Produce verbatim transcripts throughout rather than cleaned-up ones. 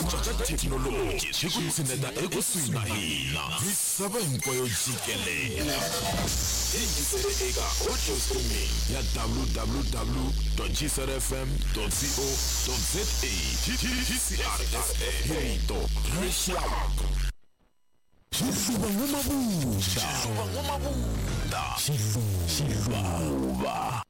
cinca ka thekinoloji swi ku tshineta ekusuhi na hina misava hinkwayo jikelele. Yingisele eka audio streaming ya w w w dot g c r f m dot co dot z a. G C R F M, hi rito rixaka. Xiluva n'wamabunda, Xiluva n'wamabunda, Xiluva.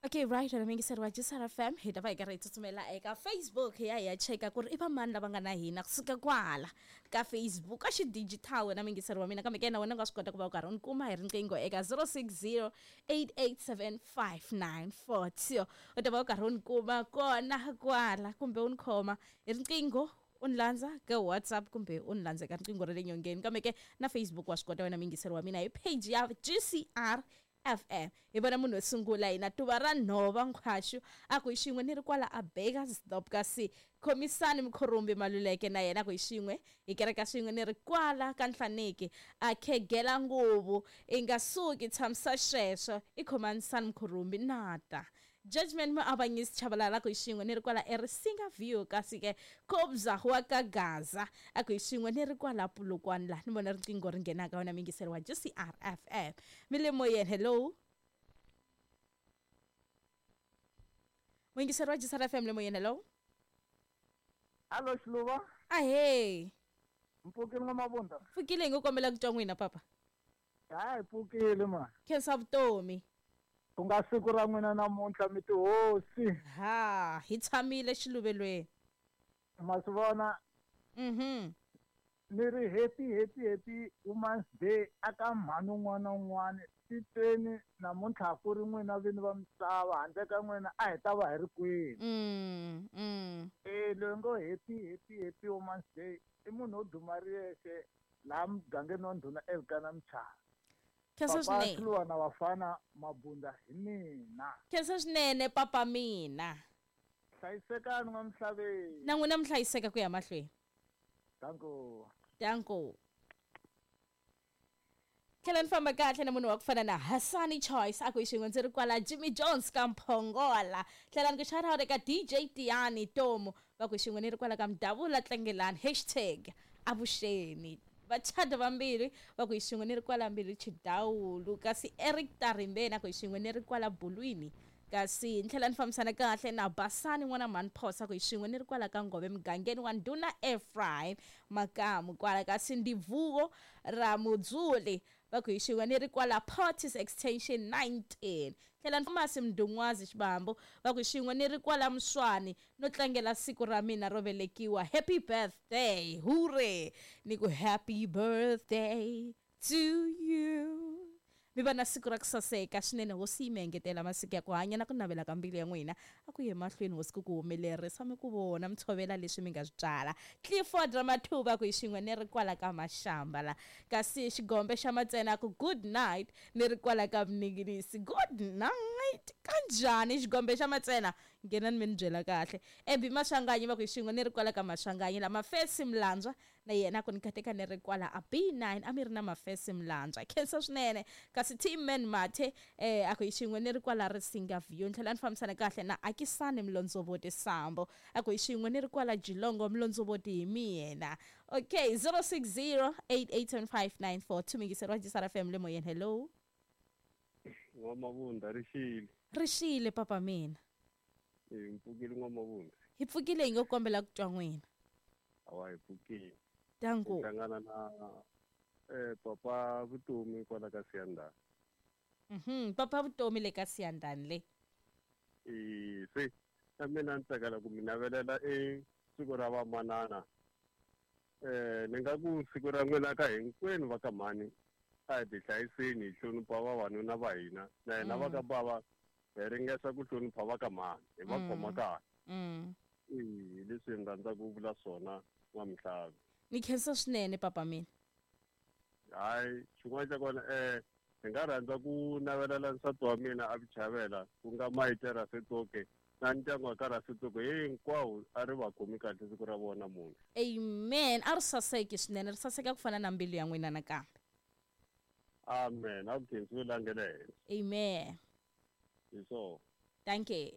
Okay, right, na mingiseri wa G C R F M, hi ta va hi karhi hi tsutsumela eka Facebook hi ya hi ya cheka ku ri i va mani lava nga na hina kusuka kwala ka Facebook ka xidigital wena mingiseri wa mina, kambe ke na wena u nga swi kota ku va u karhi u ni kuma hi riqingho eka zero six zero eight eight seven five nine four two. U ta va u karhi u ni kuma kona kwala, kumbe u ni khoma hi riqingho u ni landza ka WhatsApp kumbe u ni landza ka riqingho ra le nyongeni, kambe ke na Facebook wa swi kota wena mingiseri wa mina hi page ya G C R F M. Hi vona munhu wo sungula hina tuva ra nhova nkhwaxu a ku hi xin'we ni ri kwala a Burgersdorp, kasi khomisani Mkhorumbi Maluleke na yena ku hi xin'we hi kereka swin'we ni ri kwala ka Nhlaneki a khegela nguvu i nga suki tshamisa sweswo i khomanisani Mkhorumbi nata. Judgment Muavanyisi Chabalala ku hi xin'we ni ri kwala eRisinga View, kasi ke Kobza wa ka Gaza a ku hi xin'we ni ri kwala Polokwane la ni vona riqingho ri nghenaka wena mingiseri wa G C R F M. Mi le moyeni, hello. Muyingiseri wa G C R F M le moyeni, hello. Hello Xiluva. Ahee. Mpfukile n'wamabunda. Pfukile hi ngo kombela ku twa n'wina papa. Hayi pfukile ma. Khensa vutomi. Ku nga siku ra n'wina namuntlha mi tihosi. Ha, hi tshamile xiluvelweni. Ma swi vona? Mhm. Ni ri happy happy happy Women's Day aka mhani un'wana na un'wana titweni namuntlha ku ri n'wina vini va misava, handle ka n'wina a hi ta va hi ri kwini. Mm, mm. Eh, loyi ngo happy happy happy Women's Day i munhu wo duma ri yexe laha mugangeni wa ndhuna Elkana Mchana. Khensa Papa swinene. Xiluva na vafana Mabunda hi mina. Khensa swinene papa mina. Hlayisekani n'wamisaveni. Na n'wina mi hlayiseka ku ya mahlweni. Danko. Danko. Tlhela ni famba kahle na munhu wa ku fana na Hassani Choice a ku hi xin'we ndzi ri kwala Jimmy Jones ka Mphongola. Tlhela ni ku shout out eka D J Tiani Tomu va ku hi xin'we ni ri kwala ka Mdavula Tlangelani hashtag avuxeni. Vachada vambirhi va ku hi xin'we ni ri kwala Mbilu Chidawulu, kasi Eric Tarimbeni a ku hi xin'we ni ri kwala Bulwini, kasi ni tlhela ni fambisana kahle na Basani n'wana mhani Phosa ku hi xin'we ni ri kwala ka Ngove mugangeni wa Ndhuna Ephraim Makamu kwala, kasi Ndivuwo ra Mudzuli va ku hi xin'we ni ri kwala Portis Extension nineteen. Tlhela ni Masi Mdungwazi Xibambo va ku hi xin'we ni ri kwala Mswani no tlangela siku ra mina ro velekiwa. Happy birthday, hooray! Ni ku happy birthday to you. Mi va na siku ra ku saseka swinene, hosi yi mi engetela masiku ya ku hanya na ku navela ka mbilu ya n'wina a ku ye mahlweni hosi ku ku humelerisa mi ku vona mi tshovela leswi mi nga swi byala. Clifford Ramathuva ku hi xin'we ni ri kwala ka Mashamba la, kasi Xigombe xa Matsena ku good night ni ri kwala ka Mninginisi. Good night kanjhani Xigombe xa Matsena? Nghena ni mi ni byela kahle. Ebi Maswanganyi va ku hi xin'we ni ri kwala ka Maswanganyi la. Mafesi Mlandzwa na yena ku ni kateka ni ri kwala a B nine a mi ri na Mafesi Mlandzwa. Khensa swinene. Kasi Team Man Mathe eh a ku hi xin'we ni ri kwala Risinga View. Ni tlhela ni fambisana kahle na Akisani Mlondzovoti Sambo a ku hi xin'we ni ri kwala Jilongo Mlondzovoti hi mina. Okay, zero six zero eight eight seven five nine four two mingiseri wa G C R F M le moyeni, hello. N'wamabunda rixile. Rixile papa mina. Eh, mpfukile n'wamabunda. Hi pfukile hi ngo kombela ku twa n'wina. Awa hi pfukile. Danko. Hlangana na eh papa Vutomi kwala ka Siyandani. Mhm, papa Vutomi le ka Siyandani le. Eh, se na mina ni tsakela ku mi navelela e siku ra vamanana. Eh, ni nga ku siku ra n'wina ka hinkwenu va ka mhani a hi ti hlayiseni hi hlonipha vavanuna va hina na hina va ka bava hi ringesa ku hlonipha va ka mhani hi va khoma kahle. Mm. Eh, leswi ni rhandza ku vula swona n'wamihlavi. Ni khensa swinene papa mina. Hayi, xin'wana xa kona eh hi nga rhandza ku navelela nsati wa mina a Vuchavela ku nga Mayite Rasetoke na ndyangu wa ka Rasetoke hinkwawo a ri va khomi kahle siku ra vona namuntlha. Amen. A ri saseki swinene, ri saseka ku fana na mbilu ya n'wina nakambe. Amen. A ku khensiwe la nge le henhla. Amen. Hi swona. Thank you.